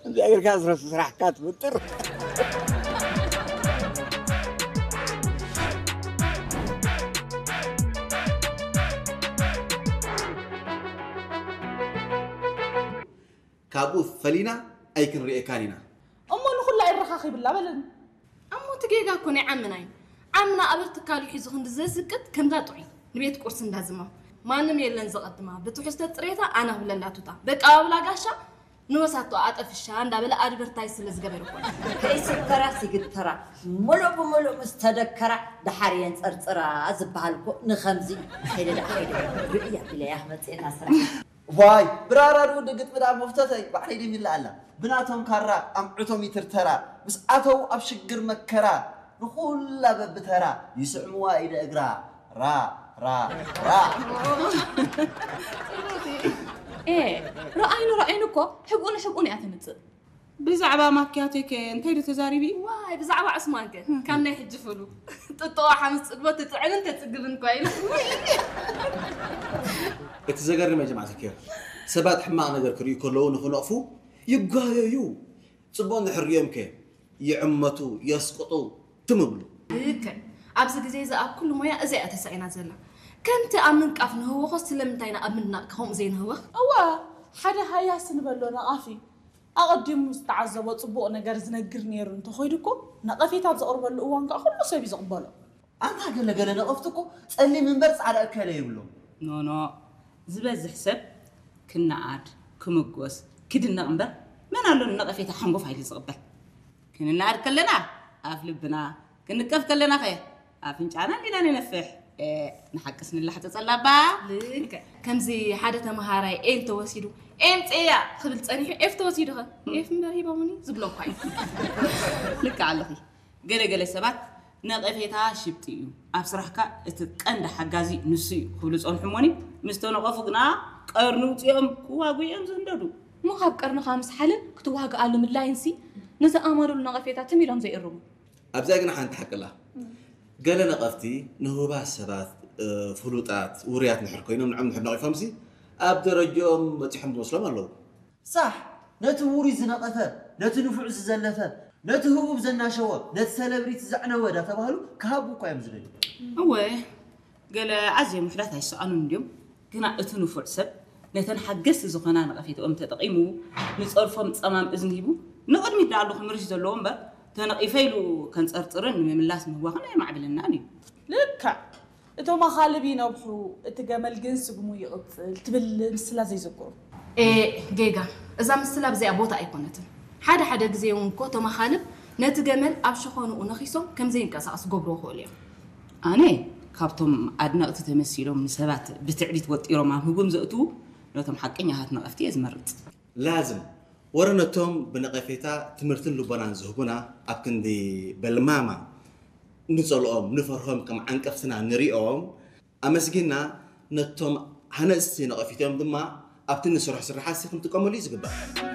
እንዚኣ ጌርካ ስራሕካ ትፍጥር። ካብኡ ፈሊና ኣይክንርእየካን ኢና። እሞ ንኹላ ይረኻኺብላ በለኒ። እሞ እቲ ጌጋ እኮ ናይ ዓምና እዩ። ዓምና ኣበር ትካሉ ሒዙ ክንዲ ዘዝቅጥ ከምዛ ጥዑይ ንቤት ቁርሲ እንዳዝማ ማንም የለን ዘቐድማ። ብትሕዝቶ ጥሬታ ኣና ብለላ ቱታ በቃ ኣብላ ጋሻ ንወሳቶ ኣጠፍሻ እንዳበለ ኣድቨርታይዝ ስለ ዝገበረ እኮ። ከይስተራ ሲግተራ፣ ሙሉእ ብሙሉእ ምስ ተደከራ ደሓር የንፀርፅራ ዝበሃል እኮ ንኸምዚ እዩ። ከይደ ደኣ ከይደ ርእያ ቢለያ ክመፅእና ስራሕ። ዋይ ብራራ ድውድ ግጥሚ ደኣ መፍተተይ ባዕለይ ደሚላ ኣላ። ብናቶም ካራ ኣምዕቶም ይትርተራ፣ ምስ ኣተው ኣብ ሽግር መከራ፣ ንኹላ በብተራ ይስዕምዋ ኢደ እግራ። ራ ራ ራ። ኤ፣ ረኣይኑ ረኣይኑ እኮ ሕብኡ ንሕብኡን እያ ተምፅእ። ብዛዕባ ማኪያቶይ ከ እንታይ ዶ ተዛሪቢ? ዋይ ብዛዕባ ዑስማን ከ ካብ ናይ ሕጂ ፍሉ ጥጥቆ ሓምስ ፅግቦ ትጥዕምን ተፅግብን እኳ ኢሉ። እቲ ዘገርም ጀማዓ ተኪር ሰባት ሕማቕ ነገር ክርእዩ ከለዉ ንኽነቕፉ ይጓየዩ። ጽቡቕ እንድሕር ርእዮም ከ ይዕመቱ፣ የስቅጡ፣ ትም እብሉ። ልክዕ። ኣብዚ ግዜ እዚ ኣብ ኩሉ ሞያ እዚኣ እያ ተሳኢና ዘላ። ከምቲ ኣብ ምንቃፍ ንህወኾ ስለምንታይ ኢና ኣብ ምድናቕ ከምኡ ዘይንህወኽ? እወ፣ ሓደ ሃያሲ ንበሎ ነቓፊ ኣቐዲሙ ዝተዓዘቦ ጽቡቕ ነገር ዝነግር ነይሩ እንተኾይዱ እኮ ነቐፌታ ኣብ ዘቕርበሉ እዋን ከኣ ኩሉ ሰብ እዩ ዝቕበሎ። ኣንታ ገለ ገለ ነቐፍቲ እኮ ጸሊም እምበር ጻዕዳ እከለ ይብሎም። ኖኖ ዝበዝሕ ሰብ ክነኣድ፣ ክምጎስ፣ ክድነቕ እምበር መን ኣሎ ንነቐፌታ ሓንጎፋይ ኢሉ ዝቕበል? ክንነኣድ ከለና ኣፍ ልብና፣ ክንንቀፍ ከለናኸ ኣፍንጫና እንዲና ንነፍሕ። ኤእ ንሓቅስ ንላሕጸጸላ እባ። ልክዕ ከምዚ ሓደ ተምሃራይ ኤል ተወሲዱ ኤም ጼያ ክብል ጸኒሑ ኤፍ ተወሲዱኸ ኤፍ እምበር ሂቦምኒ ዝብሎ እኳ እዩ። ልክዕ ኣለኺ። ገለ ገለ ሰባት ነቐፌታ ሽብጢ እዩ፣ ኣብ ስራሕካ እቲ ቀንዲ ሓጋዚ ንሱ እዩ ክብሉ ዝጸንሑ እሞኒ፣ ምስ ተነቐፉ ግና ቀርኒ ውጺኦም ክዋግኡ እዮም ዝህንደዱ። እሞ ካብ ቀርንኻ ምስሓልን ክትዋግኣሉ ምድላይንሲ ንዝኣመኑሉ ነቐፌታ ትም ኢሎም ዘይእርሙ። ኣብዚኣ ግን ሓንቲ ሓቂ ኣላ። ገለ ነቐፍቲ ንህቡባት ሰባት፣ ፍሉጣት፣ ውሩያት እንድሕር ኮይኖም ንዖም እንድሕር ነቒፎምሲ ኣብ ደረጅኦም በጺሖም ዝመስሎም ኣለዉ። ሳሕ! ነቲ ውሩይ ዝነቐፈ፣ ነቲ ንፉዕ ዝዘለፈ፣ ነቲ ህቡብ ዘናሸወ፣ ነቲ ሰለብሪቲ ዘዕነወ ዳተባህሉ ክሃቡ እኳ እዮም ዝደልዩ። እወ፣ ገለ ኣዝዮም ውሑዳት ኣይሰኣኑን እንድዮም፣ ግና እቲ ንፉዕ ሰብ ነተን ሓገዝቲ ዝኾና ነቐፌትኦም ተጠቒሙ፣ ንጸርፎም ጸማም እዝኒ ሂቡ ንቕድሚት ደኣ ኣሎ ክምርሽ ዘለዎ እምበር፣ ተነቒፈ ኢሉ ከንጸርጽርን ንምምላስ ምህዋኽን ኣየማዕብለናን እዩ። ልክዕ! እቶም ኣኻልብ ይነብሑ፣ እቲ ገመል ግን ስግሙ ይቕጽል ትብል ምስላ ዘይዘክሩ። ኤእ ጌጋ፣ እዛ ምስላ ኣብዚኣ ቦታ ኣይኮነትን። ሓደ ሓደ ግዜ እውን እኮ እቶም ኣኻልብ ነቲ ገመል ኣብ ሸኾንኡ ነኺሶም ከም ዘይንቀሳቐስ ክገብርዎ ይኽእሉ እዮም። ኣነ ካብቶም ኣድነቕቲ ተመሲሎም ንሰባት ብትዕቢት ወጢሮም ኣብ ህጉም ዘእትዉ ነቶም ሓቀኛታት ነቐፍቲ እየ ዝመርጽ። ላዝም ወረ ነቶም ብነቐፌታ ትምህርትን ልቦናን ዝህቡና ኣብ ክንዲ በልማማ ንጸልኦም ንፈርሆም ከም ዓንቀፍትና ንሪኦም ኣመስጊንና ነቶም ሃነጽቲ ነቐፊቶም ድማ ኣብቲ ንሰርሖ ስርሓትሲ ክንጥቀመሉ እዩ ዝግባእ።